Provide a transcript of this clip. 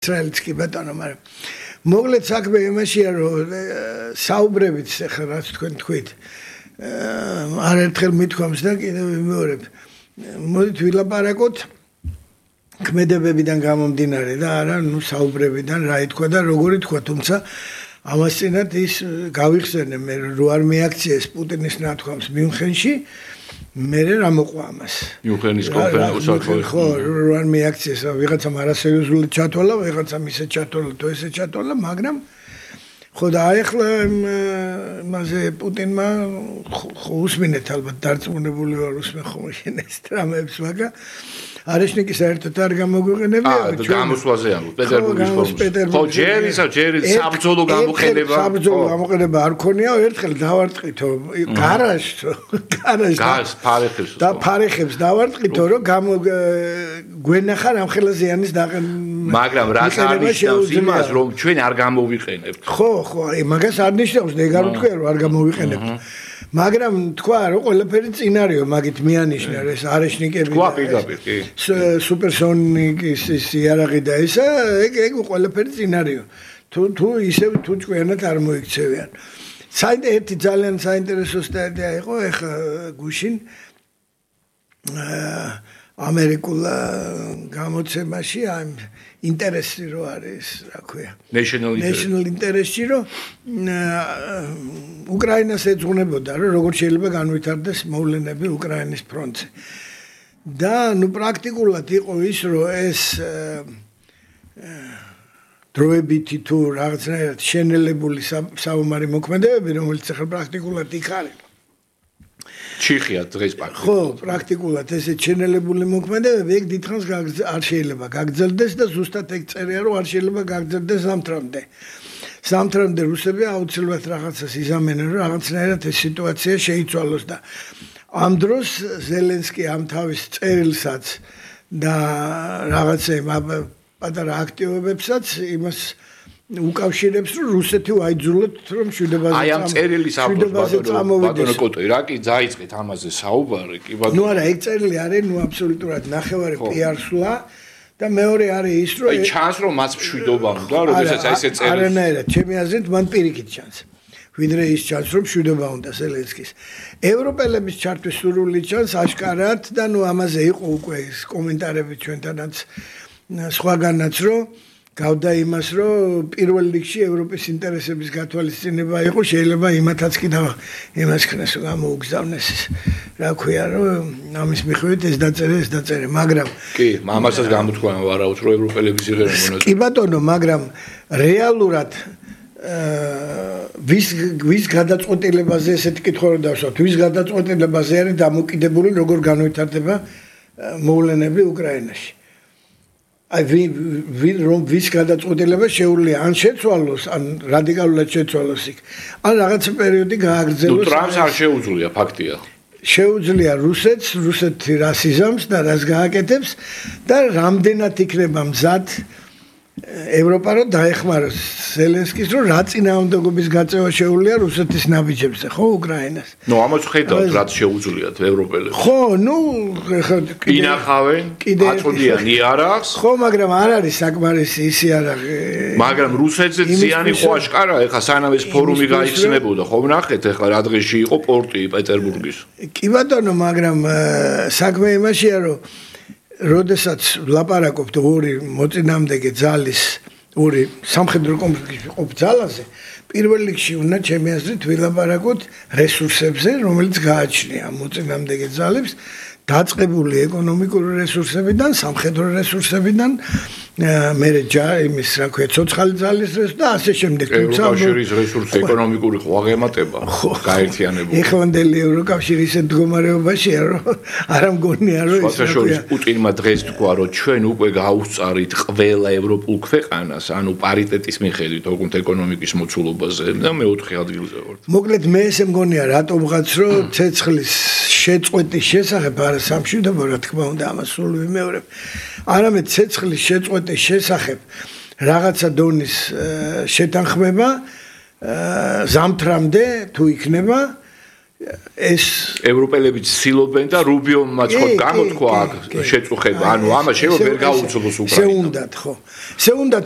ისრაელიც კი ბატონო, მაგრამ მოკლედ საქმე იმაშია, რომ საუბრებით ახლა რაც თქვენ თქვით. არაერთხელ მithქვამს და კიდევ ვიმეორებ. მოდით ვილაპარაკოთ ქმედებებიდან გამომდინარე და არა, საუბრებიდან რა ითქვა და როგორ ითქვა, თუმცა ამას წინათ ის გავიხსენე მე რო არ მიაქციეს პუტინის ნათქვამს მიუნხენში მე რა მოყვა ამას. მიუნხენის კონფერენციაში ხო, რო არ მიაქციეს, ვიღაცამ არასერიოზული ჩათვალა, ვიღაცამ ისე ჩათვალა, თუ ესე ჩათვალა, მაგრამ ხო და ახლა მასე პუტინმა უსმინეთ ალბათ დარწმუნებული ვარ უსმენ ხომ შენეს ტრამებს, მაგრამ არიშნიკი საერთოდ არ გამოგვიყენებია გამოსვლაზე ამბობ პეტერბურგის ფორმულაში. ხო, ჯერი საბრძოლო გამოყენება. საბრძოლო გამოყენება არ ქონია, ერთხელ დავარტყითო გარაჟთო, გას ფარეხებს. და ფარეხებს დავარტყითო, რომ გვენახა რამხელა ზიანის მაგრამ რაც არ ნიშნავს იმას, რომ ჩვენ არ გამოვიყენებთ. ხო, მაგას არ ნიშნავს, ეგარ ვთქვია, რომ არ გამოვიყენებთ. მაგრამ თქვა რომ ყველაფერი წინარეო მაგით მიანიშნა ეს არიშნიკები თქვა პირდაპირ კი სუპერსონიკის იარაღი და ისა ეგ ყველაფერი წინარეო თუ ისევ თუ ჭკვიანად არ მოიქცევიან ერთი ძალიან საინტერესო სტატია იყო ეხა გუშინ ამერიკულ გამოცემაში ამ ინტერესი რო არის, რა ქვია. National interest-ი რო უკრაინას ეძღვნებოდა, რომ როგორ შეიძლება განვითარდეს მოვლენები უკრაინის ფრონტზე. და პრაქტიკულად იყო ის, რომ ეს დროებითი თუ რაღაცნაირად შენელებული საომარი მოქმედებები, რომელიც ახლა პრაქტიკულად იქ არის. ჩიხია დღეს პრაქტიკულად. ხო, პრაქტიკულად ესე ჩენელებული მოქმედებები ეგ დიდხანს არ შეიძლება გაგრძელდეს და ზუსტად ეგ წერია რომ არ შეიძლება გაგრძელდეს ზამთრამდე. ზამთრამდე რუსები აუცილებლად რაღაცას იზამენენ რომ რაღაცნაირად ეს სიტუაცია შეიცვალოს და ამ დროს ზელენსკი ამ თავის წერილსაც და რაღაცა პატარა აქტივობებსაც იმას უკავშირებს რომ რუსეთი ვაიძულოთ რომ მშვიდობაზე აი ამ წერილის ავტორს ბატონო კოტო რა კი დაიწყეთ ამაზე საუბარი კი ბატონო ნუ არა ეგ წერილი არის ნუ აბსოლუტურად ნახევარი პიარსლა და მეორე არის ის რომ აი ჩანს რომ მას მშვიდობა უნდა როდესაც აი ესე წერილი არანაირად ჩემი აზრით მან პირიქით ჩანს ვიდრე ის ჩანს რომ მშვიდობა უნდა ზელენსკის ევროპელების ჩართვის სურვილი ჩანს აშკარად და ნუ ამაზე იყო უკვე ეს კომენტარები ჩვენთანაც სხვაგანაც რომ გავდა იმას რომ პირველ რიგში ევროპის ინტერესების გათვალისწინება იყო შეიძლება იმათაც კი და იმას ქნეს რომ გამოუგზავნეს რა ქვია რომ ამის მიხედვით ეს დაწერე მაგრამ კი ამასაც გამოთქვა ვარაუდ რომ ევროპელების იღერენ მონაწილეობა კი ბატონო მაგრამ რეალურად ვის გადაწყვეტილებაზე ესეთი კითხვა რომ დავსვათ ვის გადაწყვეტილებაზე არის დამოკიდებული როგორ განვითარდება მოვლენები უკრაინაში აი ვის გადაწყვეტილება შეუძლია ან შეცვალოს ან რადიკალურად შეცვალოს იქ ან რაღაცა პერიოდი გააგრძელოს ნუ ტრამპს არ შეუძლია ფაქტია შეუძლია რუსეთი რას იზამს და რას გააკეთებს და რამდენად იქნება მზად ევროპა რომ დაეხმაროს ზელენსკის რომ რა წინააღმდეგობის გაწევა შეუძლია რუსეთის ნაბიჯებზე ხო უკრაინას ნუ ამას ხედავთ რაც შეუძლიათ ევროპელებს ხო ნუ ინახავენ აწოდიან იარაღს ხო მაგრამ არ არის საკმარისი ის იარაღი მაგრამ რუსეთზე ზიანი ხო აშკარა ეხა სანამ ეს ფორუმი გაიხსნებოდა ხო ნახეთ ეხლა რა დღეში იყო პორტი პეტერბურგის კი ბატონო მაგრამ საქმე იმაშია რომ როდესაც ლაპარაკობთ ორი მოწინააღმდეგე ძალის ორი სამხედრო კონფლიქტში ყოფ ძალაზე პირველ რიგში უნდა ჩემი აზრით ვილაპარაკოთ რესურსებზე რომელიც გააჩნია მოწინააღმდეგე ძალებს დაწყებული ეკონომიკური რესურსებიდან სამხედრო რესურსებიდან მერე იმის რა ქვია ცოცხალი ძალის რესურსი და ასე შემდეგ თუმცა ევროკავშირის რესურსი ეკონომიკური ხო აღემატება გაერთიანებული ეხლანდელი ევროკავშირი ისეთ მდგომარეობაშია რომ არ ამგონია რომ ის რა ქვია პუტინმა დღეს თქვა რომ ჩვენ უკვე გავუსწარით ყველა ევროპულ ქვეყანას ანუ პარიტეტის მიხედვით ოღონდ ეკონომიკის მოცულობაზე და მეოთხე ადგილზე ვართ მოკლედ მე ესე მგონია რატომღაც რომ ცეცხლის შეწყვეტის შესახებ არა სამშვიდობო რა თქმა უნდა ამას სულ ვიმეორებ არამედ ცეცხლის შეწყვეტის შესახებ რაღაცა დონის შეთანხმება ზამთრამდე თუ იქნება ეს ევროპელები ცდილობენ და რუბიომაც ხო გამოთქვა აქ შეწუხება, ანუ ამას შეიძლება ვერ გაუძლოს უკრაინამ. შეუნდათ ხო. შეუნდათ